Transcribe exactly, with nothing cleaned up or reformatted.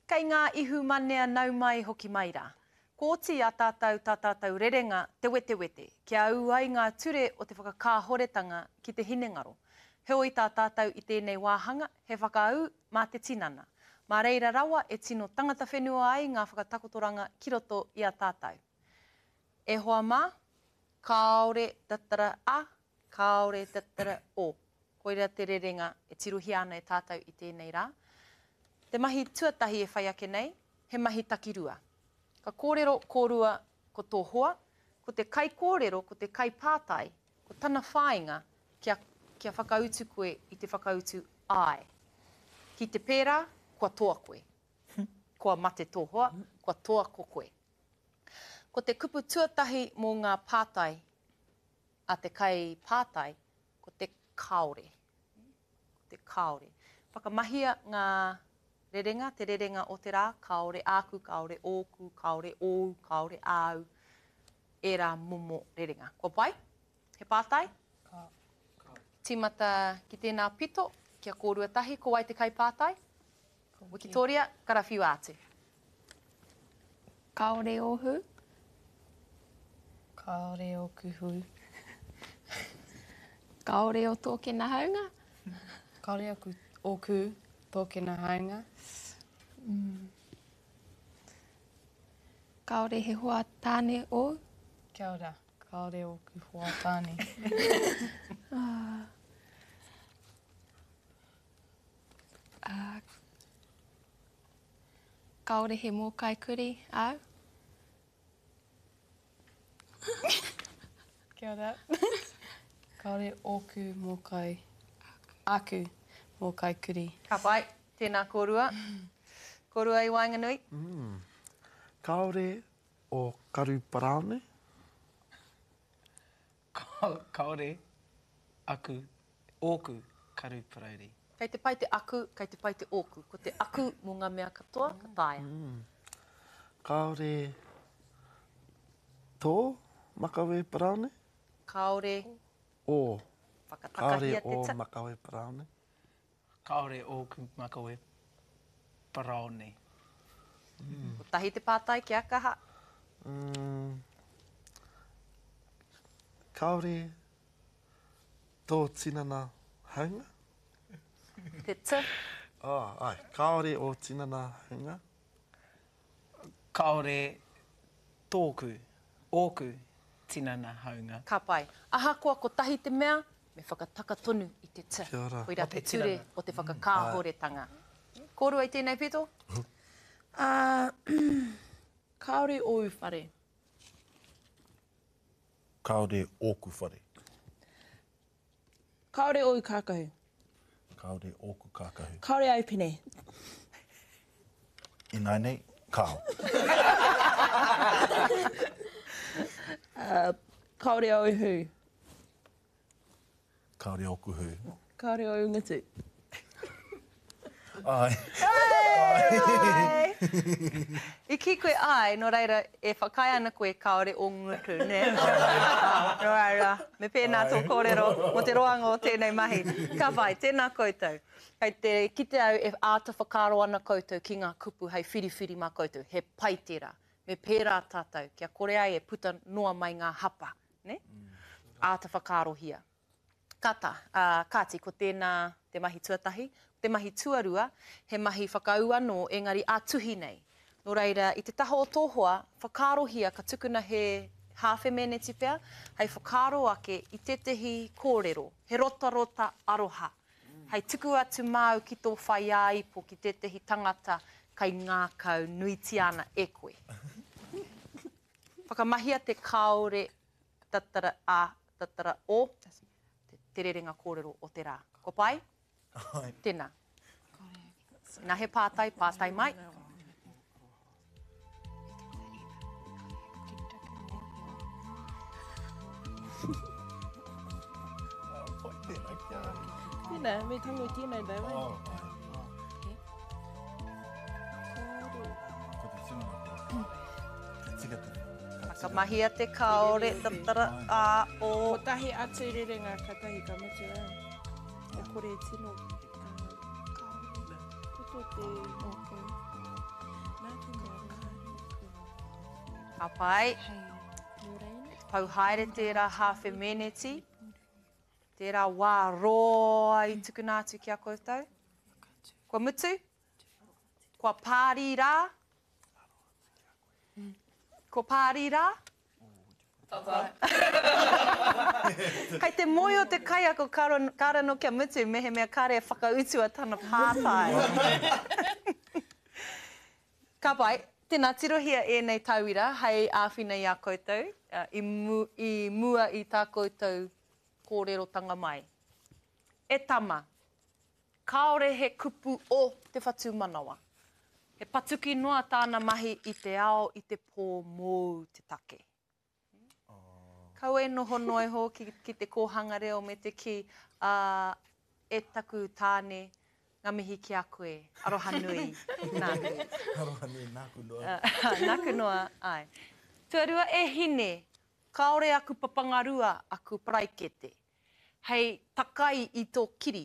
Kei ngā ihumanea nau mai hoki mai rā. Kua oti i a tātou tā tātou rerenga te wetewete, kia ū ai ngā ture o te whakakāhoretanga ki te hinengaro. Heoi tā tātou i tēnei wāhanga, he whakaū mā te tinana. Mā reira rawa e tino tangata whenua ai ngā whakatakotoranga ki roto i a tātou. E hoa mā, kāore tatara a, kāore tatara o. Koira te rerenga e tirohia ana e tātou i tēnei rā. Te mahi tuatahi e whai ake nei, he mahi takirua. Ka kōrero kōrua ko tō hoa, ko te kaikōrero, ko te kaipātai, ko tana whāinga kia, kia whakautu koe i te whakautu āe. Ki te pērā, kua toa koe. Kua mate tō hoa, kua toa ko koe. Ko te kupu tuatahi mō ngā pātai a te kaipātai, ko te kāore. Ko te kāore. Whakamahia ngā rerenga, te rerenga o te rā, kāore āku, kāore ōku, kāore ōu, kāore āu, ērā momo rerenga. Kua pai? He pātai? Ka. Tīmata ki tēnā pito, kia kōrua tahi, ko wai te kaipātai? Wikitoria, karawhiua atu. Kāore ō hū? Kāore ōku hū. Kāore ō tōkena haunga? Kāore aku, ōku tōkena haunga. Mm. Kāore he hoa tāne ōu? Kia ora, kāore ōku hoa tāne. Ah. Ah. Kāore he mōkai kurī āu? Kia ora. Kāore ōku mōkai, āku mōkai kurī. Ka pai, tēnā kōrua. Kōrua i waenganui? Mm. Kāore o karu paraone? Kāore aku, ōku karu parauri. Kei te pai te aku, kei te pai te ōku. Ko te aku mō ngā mea katoa, ka taea. Mm. Kāore tō makawe paraone? Kāore. Ō. Whakatakahia Kāore te ō ta. makawe paraone. Kāore ōku makawe paraone. Mm. Kotahi te pātai, kia kaha. Mm. Kāore tō tinana haunga? Te t. Oh, ai. Kāore ō tinana haunga? Kāore tōku, ōku tinana haunga. Ka pai. Ahakoa kotahi te mea, me whakataka tonu i te t. Kia ora. Koirā O te te ture tinana. o te whakakāhoretanga. Kōrua i tēnei pito? Uh, kāore ōu whare. Kāore ōku whare. Kāore ōu kākahu. Kāore ōku kākahu. Kāore au pene. Ināianei, kāo. Uh, kāore au hū. Kāore ōku hū. Kāore au ngutu. Ai. Ai! I kī koe ai, nō reira, e whakaae ana koe kāore ō ngutu, nē? Nō reira, me pēnā tō kōrero mō te roanga o tēnei mahi. Ka pai, tēnā koutou. Kei te kite au e āta whakaaro ana koutou ki ngā kupu hei whiriwhiri mā koutou. He pai tērā. Me pērā tātou, kia kore ai e puta noa mai ngā hapa, nē? Āta whakaarohia. Kata, uh, kāti, ko tēnā te mahi tuatahi. Te mahi tuarua, he mahi whakaū anō, engari ā-tuhi nei. Nō reira, i te taha o tō hoa, whakaarohia ka tukuna he hāwhe meneti pea, hei whakaaro ake i tētehi kōrero, he rotarota aroha. Hei tuku atu māu ki tō whaiāipo ki tētehi tangata kai ngākau nuitia ana e koe. Whakamahia te kāore tatara a, tatara o, te rerenga kōrero o te rā. Ko pai? Ai. Tēnā. Nā he pātai, pātai mai. Pai tēnā ki a au. Tēnā, me tango tēnei though, eh? Oh, ai. Ko te tinana koe. Ka tika te. Ka tika. Whakamahia te kāore, tatara, a, o. Kotahi atu rerenga, katahi ka mutu ai. E kore tino. Toto te Ōku. Ka pai. Pau haere tērā hāwhe meneti. Tērā wā roa i tukuna atu ki a koutou. Kua mutu? Kua pārī rā? Kua pārī rā? Kei te mōhio te kaiako kāre anō kia mutu mehemea kāre e whakautua tana pātai. Ka pai, tēnā tirohia ēnei tauira hei āwhina i a koutou i, mu, i mua i tā koutou kōrerotanga mai. E tama, kāore he kupu o te whatumanawa. He patuki noa tāna mahi i te ao i te pō mōu te take. Kaua e noho noa iho ki, ki te kōhanga reo me te kī, ā, e taku tāne, ngā mihi ki a koe, aroha nui, nāku. Aroha nui, nāku noa. Nāku noa, āe. Tuarua, e hine, kāore aku papangarua, aku paraikete, hei takai i tō kiri.